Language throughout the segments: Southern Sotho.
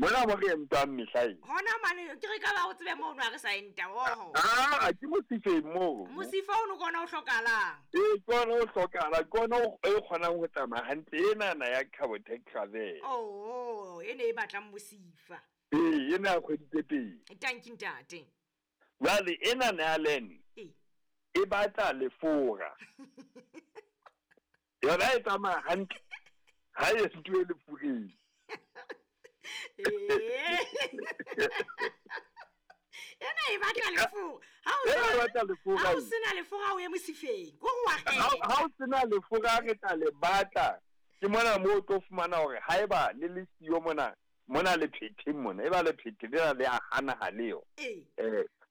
Mona mo re entang mehla e. Hona mane ke re ka ba o tsebe mono ha re sa enta oho. Ah, ke mosifeng moo. Mosifa ono ke ona o hlokahalang. Ee, ke ona o hlokahalang, ke ona o e kgonang ho tsamaya hantle enana ya Cabotac Travel. Oh, e ne e batlang mosifa. Ee, ena ya kgwedi tse pedi. Tanki ntate. Jwale enana ya Len Ee. e batla lefora. Yona e tsamaya hantle ha e entuwe lefureng. Ee. Ena e batla lefura. Ha o Ena e sena batla lefura ha o e. sena lefura o ye mosifeng. Ko wa Ha kgetha. o sena lefura re tla le batla. Ke mona moo o tlo fumana hore haeba le le siyo mona, mona lephetheng mona, e ba lephethe lena le a hana ha leo. Ee.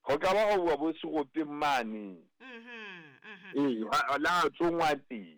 Ho ka ba ho bua bo seropeng mane. Mhm. Mhm. Ee, la tsongwa teng.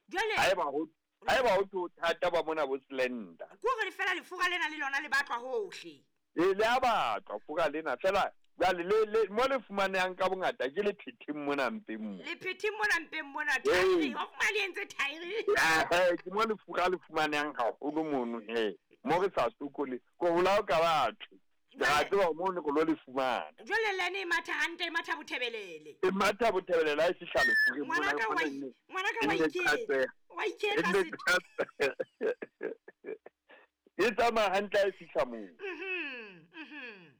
Jwale Haeba ho thwe ho thata ba mona bo slender. Ko re fela lefura lena le lona le batlwa hohle. Ee, le a batlwa fura lena fela jwale le mo le fumanehang ka bongata ke lephetheng mona mpeng mo. Lephetheng mona mpeng mona Ee. thaere, wa fumana le entse thaere. Ke mo lefura le fumanehang haholo mono he. Mo re sa sokole, ko hola o ka batho. Re a tseba mono re lo le fumana. Jwale le ene e matha hantle, e matha bothebelele. E matha bothebelele ha e fihla lefureng mona, Ngwanaka e wa kgona nne- ngwanaka e wa nne iketla. qatseha. Wa E iketla nne setho. qatseha. E tsamaya hantle ha e fihla moo. Mhm. Mhm.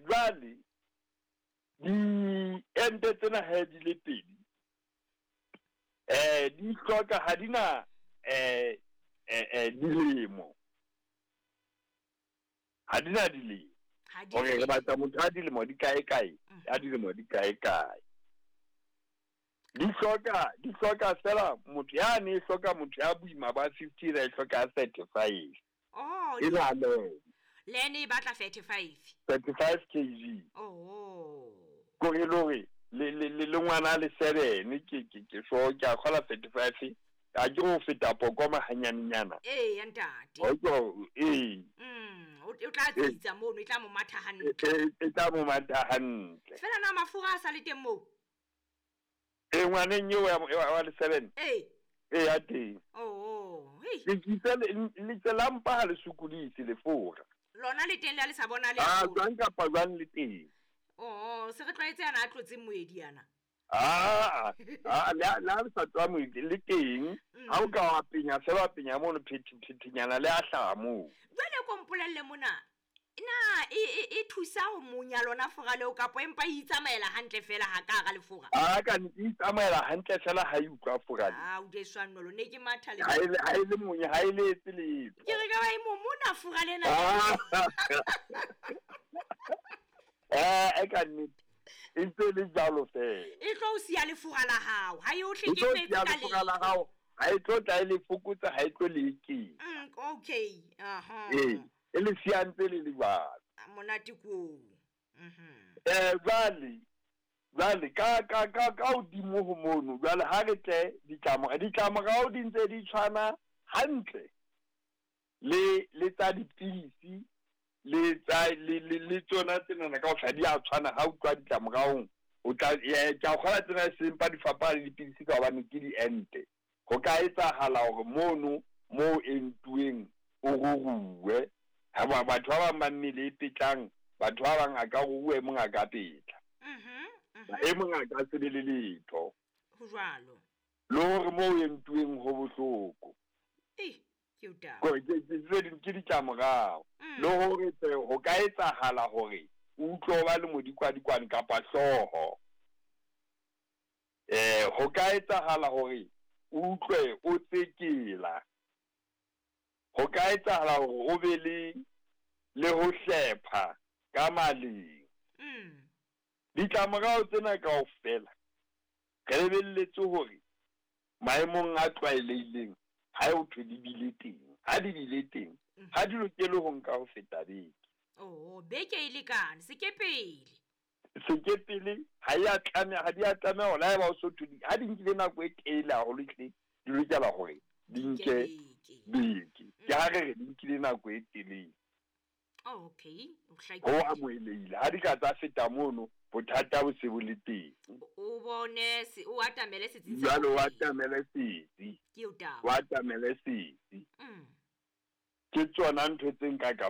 Jwale diente tsena ha di le pedi, di hloka ha di na dilemo. Ha di na dilemo. Ha di Hore re batla motho a dilemo di kae kae, a dilemo di kae kae. Di hloka fela motho ya ne e hloka motho ya boima ba 50 e hloka 35. Oh, E na le le ene e batla 35. 35 kg. Oh. Ko re lore le ngwana le 7 ke so ke a kgola 35. A ke ho feta pokoma hanyanenyana. Ee, ya ntate. O ee. O tla tsitsa mono, e tla mo matha hantle. E tla mo matha hantle. Fela na mafura a sa le teng moo? Ee, ngwaneng eo wa le 7. Ee. Ee, ya teng. Oh, hei. Le la mpa ha le sokodise lefura. Lona le teng le ha le sa bona le Ah, haholo. jwang kapa jwang le teng. Oh, se re tlwaetse yana a tlotseng moedi yana. Ah, ah, le ha le sa tswa moedi le teng. Ha o ka wa penya fela wa penya mono phethenyana le a hlaha moo. Jwale ko mpolelle mona. Na e thusa ho monya lona fora leo kapa empa e itsamaela hantle fela ha ka hara lefura? Ah, ka nnete e itsamaela hantle fela ha e utlwa fora le. Ah, o de swanolo ne ke matha le. Ha e le monya, ha e le etse letho. Ke re ka ba e momona fora lena. Ah. E ka nnete. E ntse le jwalo fela. E tlo o siya lefura la hao, ha e o E tlo hlekefetse siya ka lefura la letho. hao, ha e tlo tla e le fokotsa, ha e tlo le eketsa. Okay. Aha. Ee, e le siya ntse le le jwalo. Monate ko. Mhm. Jwale ka hodimo ho mono, jwale ha re tle ditlamorao di ntse di tshwana hantle le tsa dipidisi le tsa le tsona tsenana kaofela di a tshwana. Ha o utlwa ditlamoraong, o tla ke a kgola tsena e seng pa di fapana le dipidisi ka hobane ke diente. Ho ka etsahala hore mono moo entuweng o ruruwe. Ha batho ba bang ba mmele e petlang, batho ba bang a ka ruruwa, e mong a ka petla. Mhm. E mong a ka se be le letho. Ho jwalo. Le hore moo entuweng ho bohloko. Eh, ke o taba. Kore ke tse ding ke ditlamorao. Le hore tse ho ka etsahala hore o utlwe o ba le modikwadikwane kapa hlooho. Ho ka etsahala hore o utlwe o tsekela. Ho ka etsahala hore o be le ho hlepha ka maleng. Ditlamorao tsena kaofela re lebelletse hore maemong a tlwaelehileng ha o thwe di bile teng, ha di bile teng, ha di lokele ho nka ho feta beke. Oh, beke e lekane, sekepele. Sekepele ha e a tlameha, ha di a tlameha hore haeba o so thwe di, ha di nkile nako e telele haholo ehlile, di lokela hore di nke beke. Ke ha re re di nkile nako e telele. Okay, o hlakile. Ho amohelehile. Ha di ka tsa feta mono, bothata bo se bo le teng. O bone se, o atamele setsi sa Jwale o bobedi. atamele setsi. Ke o taba. O atamele setsi. Ke tsona ntho tse nka ka